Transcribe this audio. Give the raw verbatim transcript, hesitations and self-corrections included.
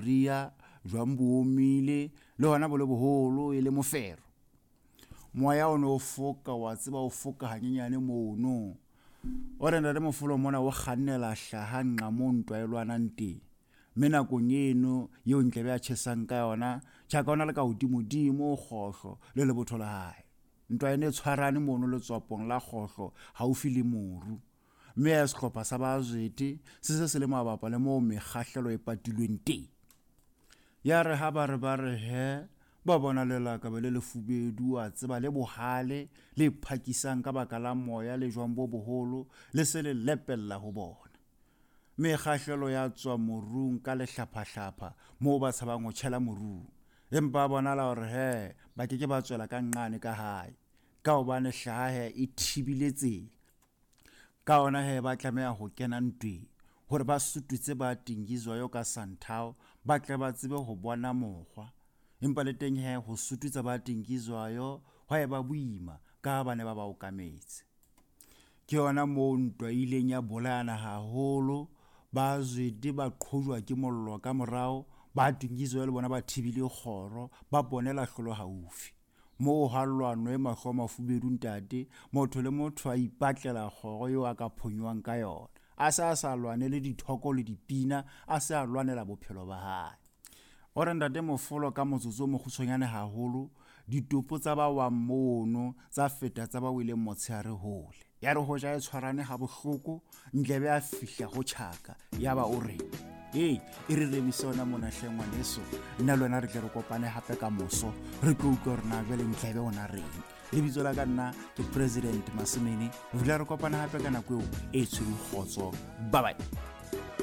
Ria jwang bo omile le hona bo le boholo e le mofero. Moya o no foka wa tseba o foka hanyenyane mono. O re ntate Mofolo mona o kgannela hlaha nqa moo ntwa e lwanang teng. Mme nakong eno eo Ntlebe a tjhesang ka yona, Tjhaka o na le ka hodimodimo kgohlo le lebotho la hae. Ntwa ene e tshwarane mono letswapong la kgohlo haufi le moru. Mme ya sehlopha sa ba Zwete se se se le mabapa le moo mekgahlelo e patilweng teng. Ya re ha ba re ba re he, ba bona lelakabe le lefubedu a tseba le bohale le phakisang ka baka la moya le jwang bo boholo le se le lepella ho bona. Mekgahlelo ya tswa morung ka lehlaphahlapha moo ba tshabang ho tjhela morung. Empa bonala hore he ba ke ke ba tswela ka nqane ka hae, ka hobane hlaha he e thibile tsela. Ka hona he ba tlameha ho kena ntweng hore ba sututse ba Dingizwayo ka santhao, ba tle ba tsebe ho bona mokgwa. Empa le teng he ho sututsa ba Dingizwayo hwa eba boima ka ha ba ne ba ba okametse. Ke yona moo ntwa e ileng ya bolayana haholo, ba Zwede ba qhojwa ke mollo ka morao, ba Dingizwayo le bona ba thibile kgoro, ba bonela hlolo haufi. Moo ha lwanwe mahlo a mafubedu ntate, motho le motho a ipatlela kgoro eo a ka phonyohang ka yona. A se a sa lwanele dithoko le dipina, a se a lwanela bophelo ba hae. O re ntate Mofolo ka motsotso o mokgutshwanyane haholo, ditopo tsa ba wang mono tsa feta tsa ba weleng motshehare hole. Ya re hoja e tshwarane ha bohloko, Ntlebe a fihla ho Tjhaka, yaba o re, "Hey, e re remise hona mona hle ngwaneso, nna le wena re tle re kopane hape ka moso, re tlo utlwa hore na jwale Ntlebe o na reng." Lebitso la ka nna ke President Masimene, ho fihla re kopana hape ka nako eo e tshwereng kgotso. Bye bye.